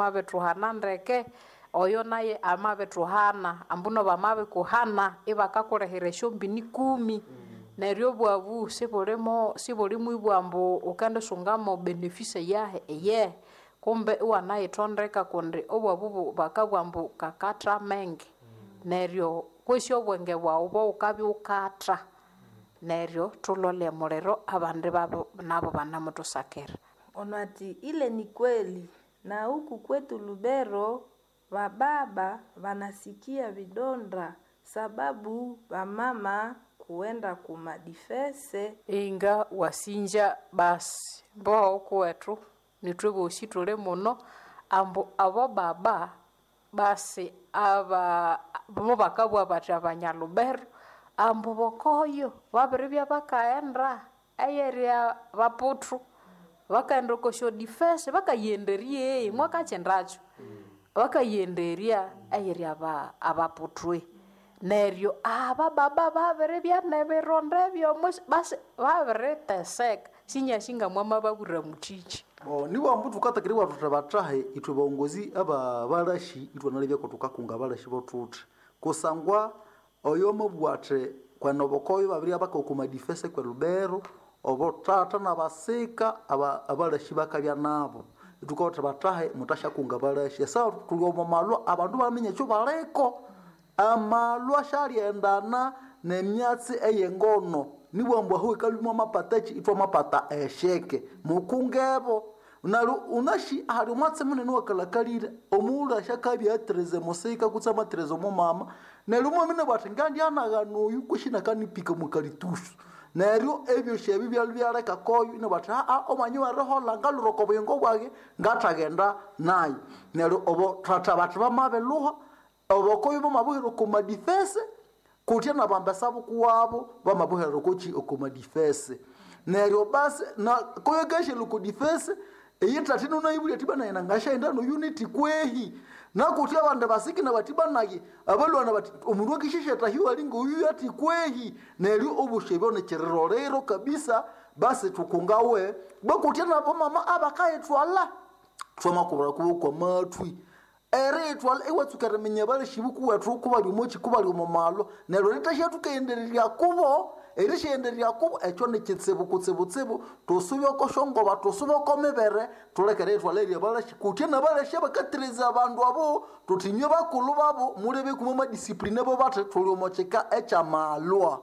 Bamabithuhana ndeke, oyo naye amabithuhana, ambuno bamabikuhana ibakakulehera esyombini ikumi. Neryo obwabu sibulimo sibulimo ambu wukendisunga benefisi yahi eyehe, kumbe iwanayithondeka kundi obwabu bakabugha ambu kakatha amenge. Neryo kwesi obwenge bwaghu bwawukabya wukatha, neryo thulole omuliro abandi babu nabo banamuthusakira. Ono ati ile ni kweli na huku kwetu Lubero vababa vanasikia vidonda sababu vamama kuenda kumadifese. Inga wasinja basi mboho kuwethu nithwe bosi thuli muno ambu abo baba basi aba mubakabugha bathi abanyalubero ambu bokoyo babiribya bakaghenda eyerya baputhu bakaghenda oko syodifesi bakaghenderye mwakakyindakyo bakaghenderya eyerya abaputhwe. Neryo aba baba babiribya nebironda ebyomwisi basi babiriteseka sinyasi ngamwamababwira muthiki. Nibwa ambu thukatakiribwa thuthi bathahe ithwe baghongozi aba balashi ithwanalebyaku thukakunga abalashi bothuthi kusangwa oyo amabugha athi kwene obukoyo babiribya bakawa okwa madifese kwe Lubero obothatha nabasika abalashi bakabya nabo ithukabugha thuthi bathahe muthasyakunga abalashi esaha thuli omo malhwa abandu ibaminya ekyobaliko. Amalhwa syaliendana nemyatsi eyengono nibugha ambu ahu ikalhwa mwamapata kyi ithwamapata esheke mukungebo neryo wunasi hali omwatsi munene owakalhakalire omughulhu asyakabya athirize musika kutse amathirize omumama neryo mwamina athi ngandyanagana oyu kwesi inakanipika omwakalitusu neryo ebyosi ebi byalhwa ibyaleka koyo inabugha athi omwanya oweriholha ngalhwira oko buyingo bwayi ngathagenda nayu neryo obothatha bathi bamabilhuha obokoyo bamabuhira oko madifese kutya nabambesa bukuwabo bamabuhira okokyi oko madifese neryo basi koyo akasyalywa oko difese eyithatha inunayibulya athi bana nangasyaghenda noyuniti kwehi nakutya abandi basikina bathi banayi abalhwana bathi omundu akisyasyathahiwa ali ngoyu athi kwehi neryo obosi ebyo nikyirirolero kabisa basi thukungawe bakutya nabamama abakayithwalha thwamakubira kubo kwamathwi eriyithwalha iwatsuka eriminya abalashi bukuwethu kubali omokyi kubali omo malhwa neryo erithasyathukaghendererya kubo erisyayendererya kubo ekyo nikitsibu kutsibutsibu thusube oko syongoba thusube oko mibere thuleke eriyithwalha erya balashi kutya nabalashi abakathiriza abandu abo thuthi inywe bakulhu babo mulebe mwamadiscipline bo bathi thuli omo kyika ekyamalhwa.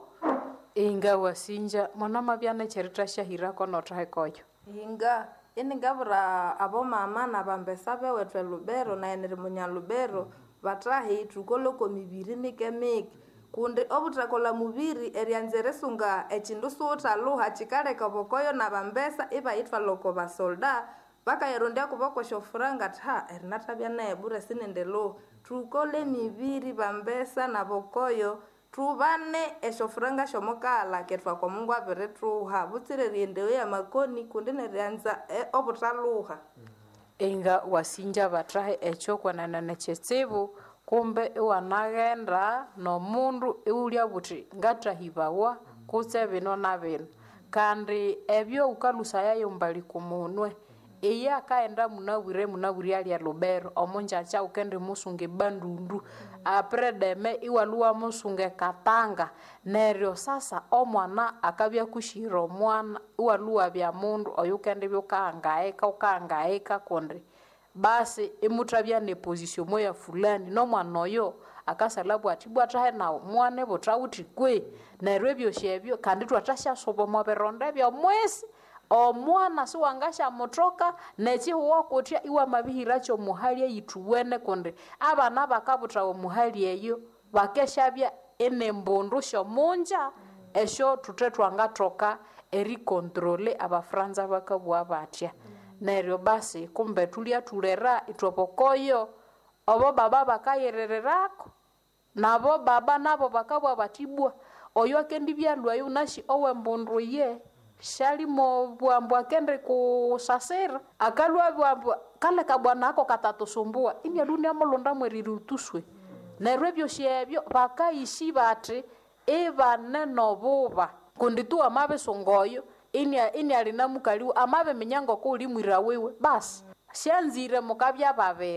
Inga wasinja mwanamabya nekyerithasyahirako nothaheka oyo. Inga iningabwira abomama nabambesa bewethu elubero nayi niri munyalubero bathahe thukole oko mibiri mike-mike kundi obuthakolha mubiri eryanza erisunga ekyindu siwuthalhuha kyikaleka obokoyo nabambesa ibayithwalha oko basolda bakayirondya kubo kwesyofuranga athi ha erinathabya nayi bure sinendilhuha. Thukole emibiri bambesa nabokoyo thubane esyofuranga syomukalha kethwaka Omungu abirithuha butsira erighendewa amakoni kundi neryanza obuthalhuha. Inga wasinja bathahe ekyo kwenene nikyitsibu kumbe iwanaghenda nomundu iwulyabugha wuthi ngathahibawa kutse bino na bino kandi ebyo wukalhusayayo mbali kumunwe iye akaghenda munabwire munabwire alya elubero omungyakya wukendimusunga ebandundu apredeme iwalhwa iwamusunga ekatanga neryo sasa omwana akabya akusyira omwana iwalhwa iwabya mundu oyukendibya wukahangayika wukahangayika kundi basi imuthabya neposition moya fulani nomwana oyo akasalhabugha athi ibwa thahe nawu mwane buthawuthi kwe neryo ebyosi ebyo kandi ithwathasyasuba omo bironda ebyomwisi omwana siwangasyamuthoka nekyihugho kutya iwamabihiraky omuhali eyithuwene kundi abana bakabuthawa omuhali eyo bakesyabya inembundu syomunja esyo thuthe thwangathoka erikontrole abafranza bakabugha bathya. Neryo basi kumbe thulyathulera ithwe bokoyo obo baba bakayirirako nabo baba nabo bakabugha bathi ibwa oyo akendibyalhwayo wunasi owembundu iye syalimo bugha ambu akendikusasira akalhwa abugha ambu kale kabwana ako katatusumbua inialhwa iniamulhonda mweriri utuswe. Neryo ebyosi ebyo bakayisi bathi ibane nobuba kundi tu wamabisunga oyo iniali namukaliwe amabiminya ngokuwuli mwira wiwe basi. Syanzire mukabya babiri.